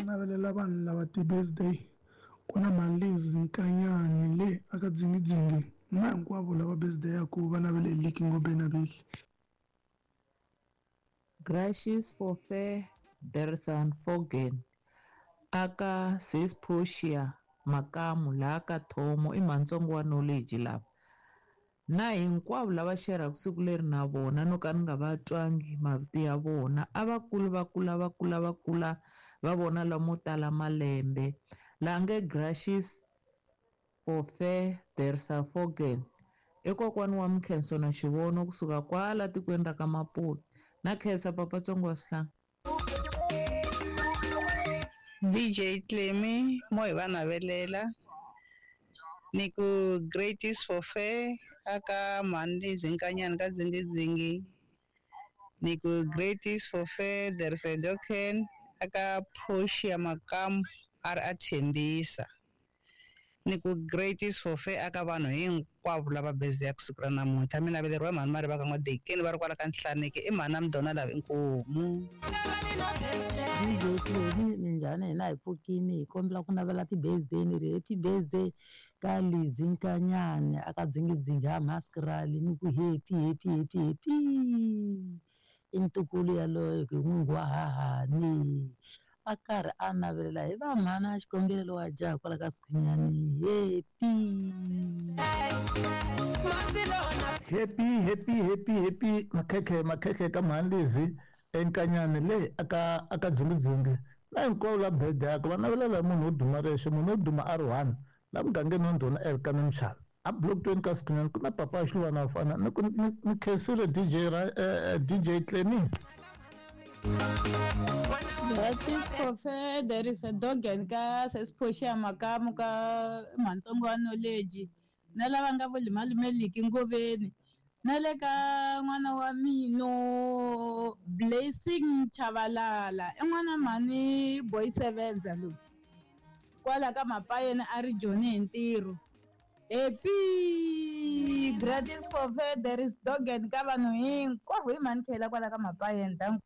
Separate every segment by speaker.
Speaker 1: Navelela vanhu lava ti-birthday ku na Malizi Nkanyani le aka Dzingidzingi na hinkwavo lava birthday-aku va navele hi Liki Ngobeni Abihli.
Speaker 2: Gracious for fair Dersan Fogen aka Sis Portia Makamu laha ka Thomo i mhantsongo wa knowledge lava na hinkwavo lava xerhaka siku leri na vona no ka ni nga va twangi mavito ya vona a va kuli va kula va kula va kula va vona lamo tala malembe laha nge Gracious for fair Dersa Fogen i kokwani wa Mkhenso na Xivono kusuka kwala tikweni ra ka Maputo na khensa papa tsongo wa swihlanga.
Speaker 3: DJ Clemmy mo hi va navelela ni ku great is for fair aka mhani Zinkanyana ka Dzingidzingi ni ku great is for fair there is a doken aka Portia Makamu a ri a tshembisa ni ku great is for fair aka vanhu hinkwavo lava birthday ya siku ra namuntlha mi naveleriwa hi mhani Mariva ka N'wadekeni va ri kwala ka Nhlaneki i mhani Amdona lava inkomu.
Speaker 4: DJ Clemi minjhani hina hi pfukini hi kombela ku navela ti-birthday ni ri happy birthday ka Lizzy Nkanyani aka Dzingidzingi ha Maskrali ni ku happy happy happy happy i ntukulu yaloye hi n'wingi wa hahani a karhi a navelela hi va mhana xikhongelo wa jaha kwala ka Sikhunyani happy.
Speaker 5: Happy happy happy happy makhekhe makhekhe ka mhani Lizzy eNkanyani le aka aka Dzingidzingi na hinkwavo la birthday yakwe va navelela hi munhu wo duma rexe munhu wo duma a ri one la mugangeni wa ndhuna Elkana Mchana a block 20 ka Sikhunyani ku na papa wa xiluvana wa fana ni ku ni khensile DJ ra DJ Clemi.
Speaker 6: That is for fair. There is a dog and ka Sesiphoxia Makamu ka Mhantsongo wa knowledge na lava nga vo limalumeliki ngoveni na le ka n'wana wa mino Blessing Chavalala i n'wana mhani boy sevenza loyi kwala ka Mapayeni a ri Joni hi ntirho. Happy gratis for fair there is dog and ka vanhu hinkwavo hi mhani khela kwala ka Mapayeni danko.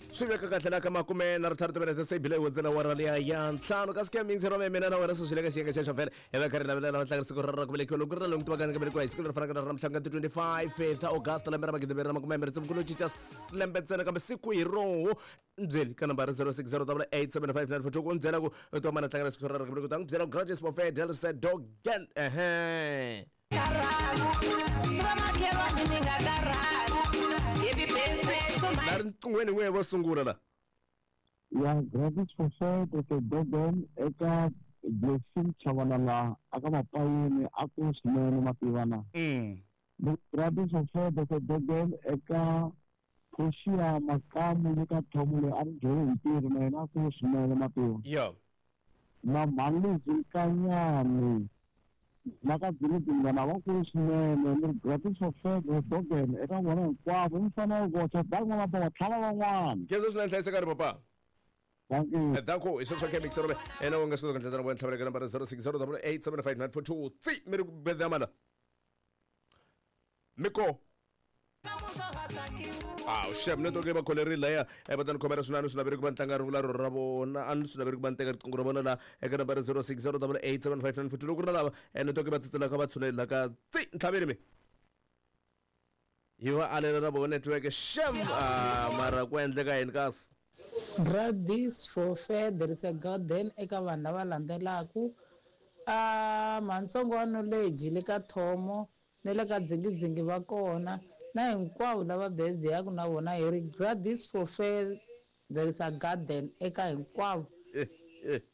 Speaker 7: Swi veka kahle la ka makume na ri timinete se bile hundzela wara liya ya ntlhanu kasi ke mingisi rome mina na wena sweswi le ka xiyenge xexo vhele hi va karhi navelela va tlanga siku ra ku velekiwa loko ri na lomu tivaka nga velekiwa hi siku leri fanaka na ra mhlanga ti 25 ta August lembe ra magidimbirhi na makume mbirhi tsevu ku lo cinca lembe ntsena kambe siku hi roho nbyeli ka nambara 06087594 ku byela ku u twa mana tlanga siku ra ku velekiwa ta n'wi byela ku gratis buffet del dogan ehe la riqinghweni n'we vo sungula la
Speaker 8: ya gratis for fair Dr. Dogan eka Blessing Chavalala aka Mapayeni a ku swinene mativana gratis for fair Dr. Dogan eka Portia Makamu le ka Thomo loyi a ri dyole hi ntirho na yena a ku swinene mativa
Speaker 7: yo
Speaker 8: na Mhani Nkanyani na ka Dzingidingana va kulu swinene ni ri gratis for fair Dr. Dogan eka vona hinkwavo mi fanele ku vocha dan'wana va tlhava van'wana
Speaker 7: khensa swinene hlayiseka ri papa
Speaker 8: thank you
Speaker 7: danko hi sweswo ke mixer ene u nga swi kota ku ndlela na tlhavela ka nambara 06087594 tsi mi ri ku bedamala miko awu xem network yi va kholerile laya va ta ni khomela swinene swi naveri ku va ni tlanga rungula ro ra vona a ni swi naveri ku va ni teka riqingho ra vona la eka nambara 06087594 loko ku ri na lava network yi va tsitselaka va tshuneli la ka tsi ntlhaveni mi yi va alela na vona network xem mara ku endleka yini kasi
Speaker 4: Gratis for fair there is a garden eka vanhu lava landzelaku a Mhantsongo wa knowledge le ka Thomo ni le ka Dzingidzingi va kona na hinkwavo lava birthday yaku na vona hi ri gratis for fair there is a garden eka hinkwavo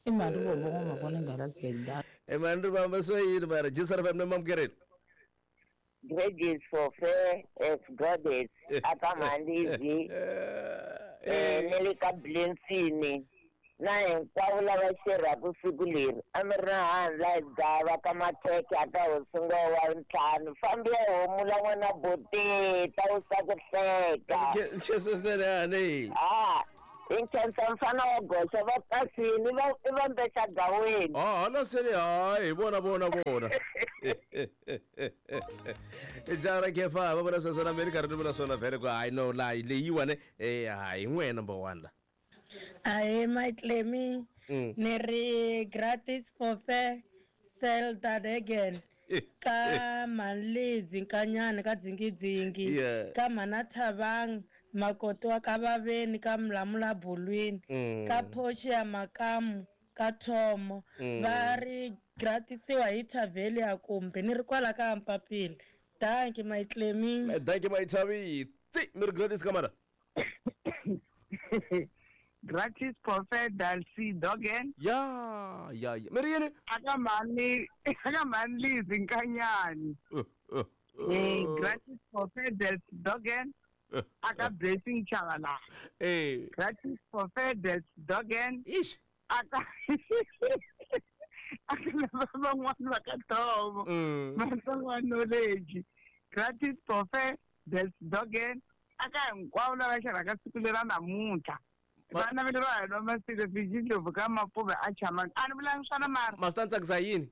Speaker 4: i mali vo vo n'wamavona nghala sibedlala
Speaker 7: e mani ri vamba swo yini mara jisar fm ne mamukerile
Speaker 9: Gratis for fair as goddess aka Mhalizi ni le ka Blessing na hinkwavo lava xerhaka siku leri a mi ri na handla hi gava ka makhekhe aka hosingo wa ntlhanu fambi ya homula n'wana bote ta wusa ku hleka
Speaker 7: khensa swinene hani
Speaker 9: a hi nkhensa mfana wa goxa va pasini va i va mbexa gaweni
Speaker 7: hala sele hayi hi vona vona vona i jaha ra kefa va vona sweswo na me ni karhi ni vula swona vhele ku hayi no la leyiwani hayi n'we number one la.
Speaker 10: Ahee Maitlemi ni ri gratis for fair sell that again ka Mhani Nkanyani ka Dzingidzingi ka Mhana Thabang Makoti wa ka Vaveni ka Mlamula Bulwini ka Portia Makamu ka Thomo va ri gratisiwa hi Tavelia kumbe ni ri kwala ka Mpapila. Dankie Maitlemi.
Speaker 7: Dankie Maithavi. Tsi mi ri gratis ka mana.
Speaker 11: Gratis Prophet Dalcy Dogen.
Speaker 7: Ya ya ya. Mi ri yini?
Speaker 11: Aka mani aka mani Lizi Nkanyani. Gratis Prophet Dalcy Dogen. Aka Blessing Chavala. Gratis Prophet Dalcy Dogen.
Speaker 7: Ish.
Speaker 11: Aka aka lava van'wana va ka Thomo. Vatsongo knowledge. Gratis Prophet Dalcy Dogen. Aka hinkwavo lava xavaka siku lera namuntlha. Vana va le va nwa masilo fijindlovu ka mapuve a chamani a ni vulangi swona mara
Speaker 7: ma swi ta ni tsakisa yini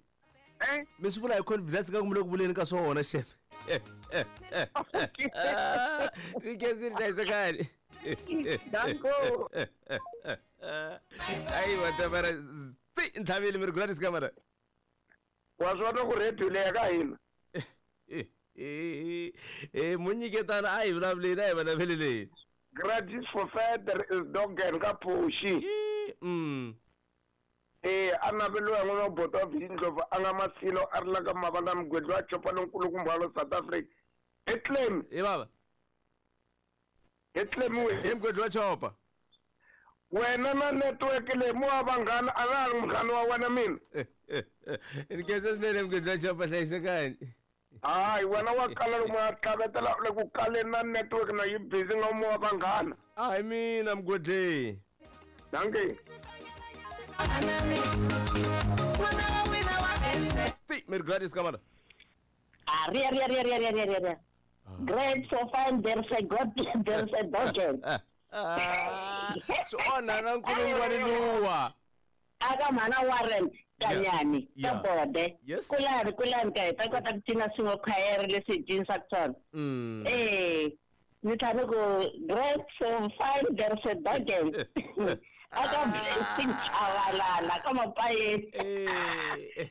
Speaker 7: mi swi vula hi confidence ka ku mi le ku vuleni ka swona xeme ni khensile hlayisekani
Speaker 11: Danko.
Speaker 7: ayi watamara tsi ntlhavile mi ri gratis ka mara
Speaker 12: wa swi vona ku radio leya ka hina
Speaker 7: munyiketana a hi vulavuleni a hi vulavuleleni
Speaker 12: Gratis for Feder is Dogen ka Phoshi. A naveliwa hi n'wana wa boto wa Vindlovu a nga Masilo a ri la ka Mavanda Mugwedli wa Chopa lonkulukumba wa le South Africa. I claim.
Speaker 7: Hi bava.
Speaker 12: I claim we.
Speaker 7: Hi Mugwedli wa Chopa.
Speaker 12: Wena na network leyi mo wa vanghana a na ha ri munghana wa wena mina.
Speaker 7: Ni khensa swinene Mugwedli wa Chopa hlayisekani.
Speaker 12: Hayi wena wa kala lomu ya tlavetela le ku kaleni na network na yi busy nga mo wa vanghana.
Speaker 7: A hi mina Mugwedli.
Speaker 12: Dankie.
Speaker 7: Ti mi ri gratis ka mana.
Speaker 9: Ah, ria ria ria ria ria ria ria. Great so fine there's a god there's a dogen.
Speaker 7: Swi onha na nkulungwani luwa.
Speaker 9: Aka mhana Warren Kanyani ka Bode. Kulani kulani ka hi ta kota ku cina swin'we khwayere leswi hi cinisaka swona. Ni tlhela ku great so fine there's a dogen. Aka Blessing Chavalala ka Mapayeni.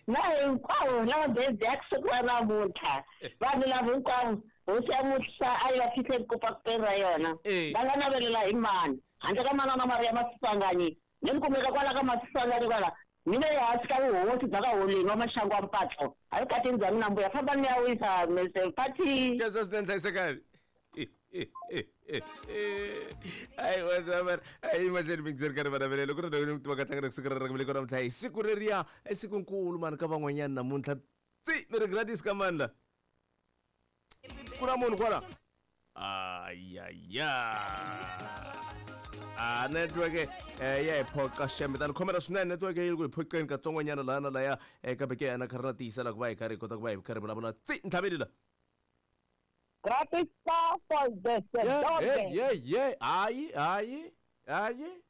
Speaker 9: Na hinkwavo lava birthday ya siku ra namuntlha vanhu lava hinkwavo hosi ya musa a yi va fihle ku peni ra yona va nga navelela hi mani handle ka manana Maria Maswanganyi ni kumeka kwala ka Maswanganyi kwala mina ehansi ka vuhosi bya ka Holeni wa Maxangu wa Mpatlo a yi katini bya mina mbuya famba ni ya wisa Mr. Party.
Speaker 7: Khensa swinene hlayisekani. Ayi wazamara ayi mahlweni mingiseri ka ri vanavelelo ku ri ndhawu tiva ka tlangana kusuka ra ku namuntlha hi siku reriya i siku nkulu mani ka van'wanyana namuntlha tsi mi ri gratis ka mani la ku na munhu kwala ayaya a network ya hi phoqa xembe tani khomela swinene network yi ri ku hi phoqeni katsongonyana laha na laya kambe ke ana kha ri na tiyisela ku va hi karhi hi kota ku va hi karhi vulavula tsi ntlhaveli la
Speaker 13: Gratis for the
Speaker 7: yeah yeah hayi hayi hayi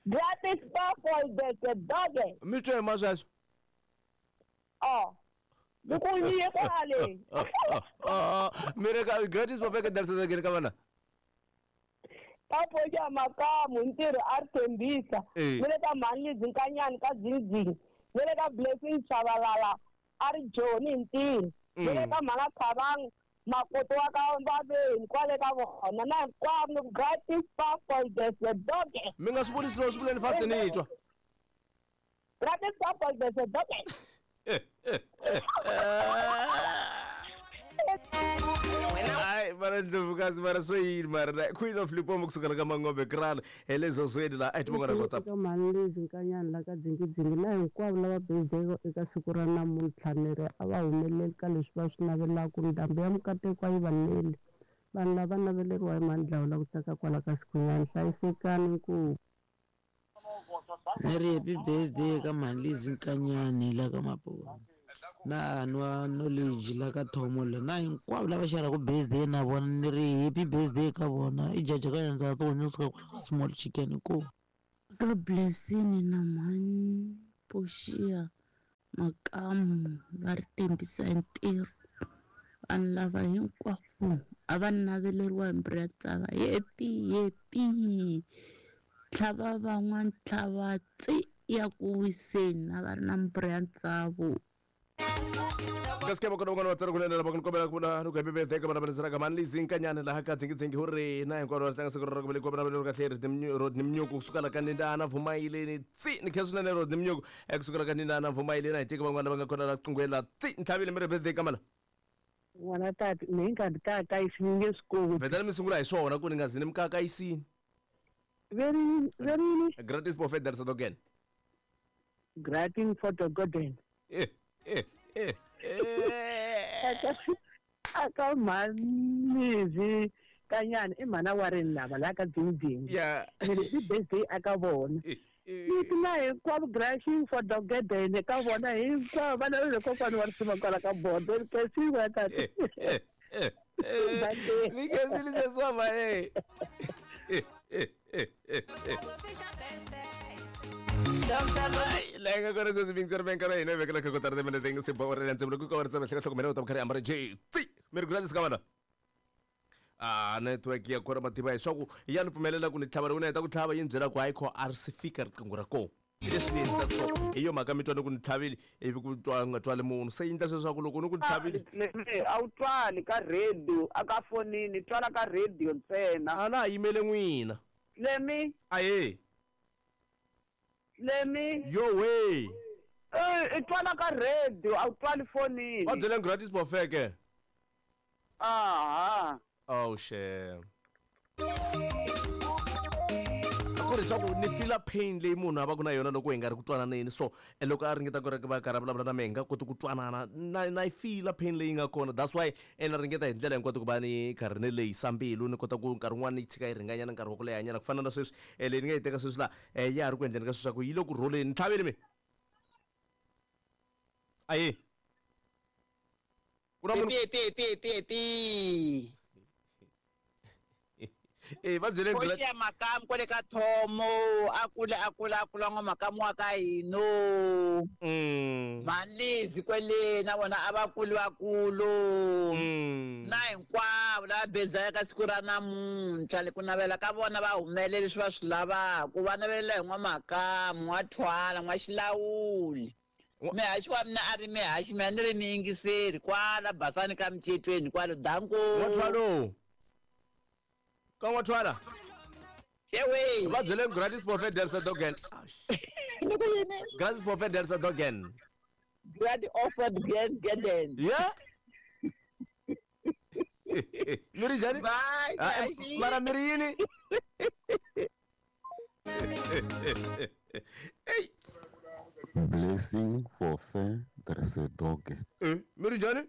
Speaker 13: Gratis for the dog.
Speaker 7: Mi twe ma sweswo
Speaker 13: Oh ku yiye kwale
Speaker 7: mi ri ka gratis papeke darisakeni ka vana
Speaker 13: Papo ya makamu ntirho a ri tshembisa mi le ka mhani Lizi Nkanyani ka Dzingidzingi mi le ka Blessing Chavalala a ri Joni hi ntirho mi le ka mhana Thabang Makoto wa ka Vaveni kwale ka vona na hinkwavo gratis for the dog.
Speaker 7: Mi nga swi vuli slow swi vuleni fast ni twa
Speaker 13: Gratis for the dog.
Speaker 7: Hayi mara ndlovukazi mara swo yini mara na Queen of Limpopo kusukela ka Mangombe Kraal hi le Zozweni laha a hi tivonga na WhatsApp.
Speaker 14: Eka mhani Lizi Nkanyani la ka Dzingidzingi na hinkwavo lava birthday eka siku ra namuntlha ni ri a va humeleli ka leswi va swi navelaka ndhambi ya mikateko a yi va neli vanhu lava naveleriwa hi mhani Dlawula ku tsaka kwala ka Sikhunyani hlayisekani nkuku.
Speaker 4: Ni ri happy birthday ka mhani Lizi Nkanyani la ka Maponi na nwa knowledge la ka Thomo la na hinkwavo lava xaraka birthday na vona ni ri happy birthday ka vona i jaja ka yandza to suka kwala ka small chicken ku
Speaker 15: ka Blessing na mhani Portia Makamu va ri tembisa hi ntirho Vanhu lava hinkwavo a va naveleriwa hi mbiri ya tsava. Happy happy. Tlhava van'wana tlhava tsi ya ku wiseni a va ri na mbiri ya ntsavu.
Speaker 7: Kasi ke vakona van'wana vatsari kunene lava ku ni kombela ku vula ni ku happy birthday ka vana va ka mani lizinkanyana laha ka dzingidzingi hu ri na hinkwaro va tlanga siku ra ku velekiwa vana va kahle Rodney Mnyuku kusuka la ka Nindana Vumayileni tsi ni khensa swinene Rodney Mnyuku ekusuka la ka Nindana Vumayileni a hi teki van'wana lava nga kona la qinghweni la tsi ni tlhavile mi ri birthday ka mala
Speaker 16: N'wana tati ni hi nga ni kakayisi ni nge swi koti.
Speaker 7: Vhetani mi sungula hi swona ku ni nga zi ni mi kakayisini.
Speaker 16: Verini verini.
Speaker 7: Gratis buffet there Sadogen.
Speaker 16: Gratin for the garden.
Speaker 7: Eh eh eh.
Speaker 16: Aka mhanizi kanyana i mhana wa rini lava la ka dzingidzingi.
Speaker 7: Yeah.
Speaker 16: Ni ri i birthday aka vona. Ni ti na hinkwavo brushing for the garden ka vona hinkwavo vana va le kokwani wa risima kwala ka bodo kesiwa tati.
Speaker 7: Ni khensile sesi wa mhani. Laha hi nga kona sweswi vingiseri venka ra hina hi vekela kha kotara timinete nga se ba orela ndzimula ku ka wa ritsema hleka hlokomela u ta karhi ambara j tsi mi ri gratis ka vana a network ya kona mativa hi swa ku ya ni pfumelela ku ni tlhava loko ni heta ku tlhava yi ni byela ku hayi kho a ri si fika riqingho ra kona leswi ni endlisaka swona hi yo mhaka mi twa ni ku ni tlhavile ivi ku twa nga twali munhu se yi endla sweswaku loko ni ku ni tlhavile
Speaker 11: a wu twali ka radio a ka fonini twala ka radio ntsena
Speaker 7: a na ha yimele n'wina
Speaker 11: lemi
Speaker 7: ahe
Speaker 11: lemi
Speaker 7: yowe
Speaker 11: i twala ka radio a wu twali fonini
Speaker 7: va byeleni gratis bofeke
Speaker 11: aha
Speaker 7: oh shame ku ri swa ku ni fila pain leyi munhu a va ku na yona loko hi nga ri ku twananeni so loko a ringeta ku ri va karhi a vulavula na mehe hi nga koti ku twanana na na yi fila pain leyi nga kona that's why na ringeta hi ndlela hinkwato ku va ni karhi ni lehisa mbilu ni kota ku nkarhi wun'wana ni yi tshika yi ringanyana nkarhi wa ku lehanyana ku fana na sweswi leyi ni nga yi teka sweswi laha ya ha ri ku endleni ka sweswi swa ku yi le ku rholeni ni tlhavile mi aye ku na munhu
Speaker 3: Pi pi pi pi.
Speaker 7: Eh, va byele
Speaker 3: Koxi ya makamu kwale ka Thomo a kula a kula a kula n'wa makamu wa ka hino. Mhani kwele na vona a va kuli vakulu. Na hinkwavo lava bezaka ka siku ra namuntlha le ku navela ka vona va humelele leswi va swi lavaka va navelela hi n'wa makamu n'wa thwala n'wa xilawuli. Mihaxi wa mina a ri mihaxi mina ni ri miyingiseri kwala basani ka micetweni kwalo danko.
Speaker 7: N'wathwalo. Ka n'wathwala.
Speaker 3: Ewe.
Speaker 7: Va byele gratis buffet der Sadogen.
Speaker 3: Ni ku yini?
Speaker 7: Gratis buffet der Sadogen.
Speaker 3: Grad offered grand garden.
Speaker 7: Yeah. Mi ri njhani?
Speaker 3: Bye,
Speaker 7: Ah,
Speaker 3: Kashi.
Speaker 7: Mara mi ri yini?
Speaker 17: Blessing for fair Dresedoge.
Speaker 7: Mi ri njhani?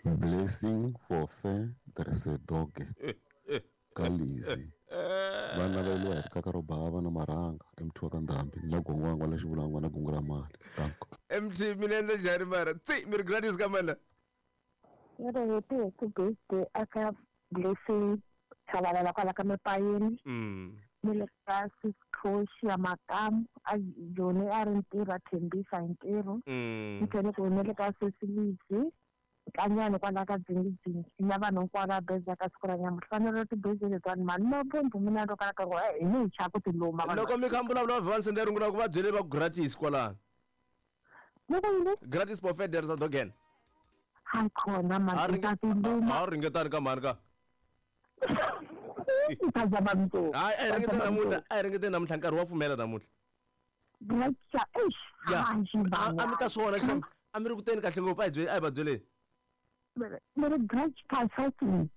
Speaker 17: Blessing for fair Dresedoge. Ka Lizzy. Va naveliwa hi rikaka ro bava na marhanga emuthiwa ka ndhambi ni la gongwangwa la xivulangwa na gungu ra mali. Danko.
Speaker 7: MT mi ni endla njhani mara? Tsi mi ri gratis ka mana.
Speaker 18: Ni ri happy happy birthday aka Blessing Tshabalala kwala ka Mapayeni. Ni le ka Siscotia Makamu a Joni a ri ntirho a thembisa hi ntirho. Ni tlhela ku ni le ka Cecilisi Nkanyani kwala ka Dzingidzingi na vanhu hinkwavo va beza ka siku ra nyamuntlha fanele ti-birthday letiwani mani no bumbu mina ro kala ka ku hi ni hi chava ku ti luma vanhu.
Speaker 7: Loko mi kha mi vulavula va vhe va sende rungula ku va byele va ku gratis kwalano.
Speaker 18: Ni ku yini?
Speaker 7: Gratis buffet der Sadogen.
Speaker 18: Hayi khona mani ta ti luma.
Speaker 7: A ringetani ka mhani ka.
Speaker 18: Ta zama mntu.
Speaker 7: Hayi a hi ringeteni namuntlha, a hi ringeteni namuntlha nkarhi wa pfumela namuntlha.
Speaker 18: Gratis eish.
Speaker 7: Ya.
Speaker 18: A
Speaker 7: A mi ta swi vona xem. A mi ri ku teni kahle ngopfu a hi byeli a hi va byeleni.
Speaker 18: Ni ri grudge consulting.